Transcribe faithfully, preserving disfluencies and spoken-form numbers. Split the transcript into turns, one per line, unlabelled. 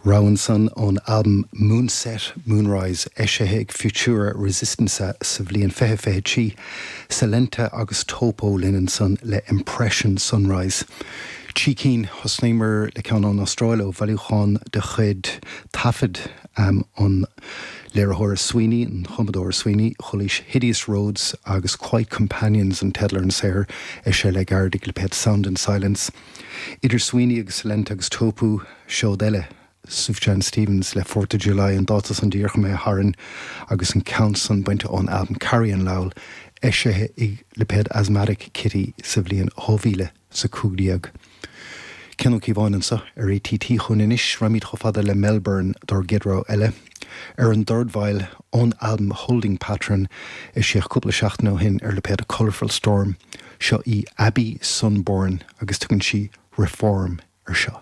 Rogha ansan ón albam Moonset Moonrise eisithe ag Futura Resistenza sa bhliain fiche fiche trí Silenta agus Topo linn ansan le Impression Sunrise. Trí cinn thosnaíomar le ceann ón Astráil ó bhailiúchán de chuid taifead um, an léiritheora Sweeney an chumadóir Sweeney chualaís Hideous Roads agus Quiet Companions an teideal ar an saothar eisithe le gairid ag lipéad Sound and Silence. Idir Sweeney agus Silenta agus Topo seod eile Sufjan Stevens le Fourth of July an dáta san díreach imithe tharainn agus an ceann san bainte ón albam Carrie and Lowell eisithe ag lipéad Asthmatic Kitty sa bhliain dhá mhíle is a cúig déag. Cian Ó Cíobháin anseo ar ATT chun anois raghaimid chomh fada le Melbourne dár gcéad rogha eile. Ar an dordveidhil ón albam Holding Pattern eisíodh cúpla seachtain ó shin ar lipéad Colourful Storm seo í Abby Sunborn agus tugann sí Reform ar seo.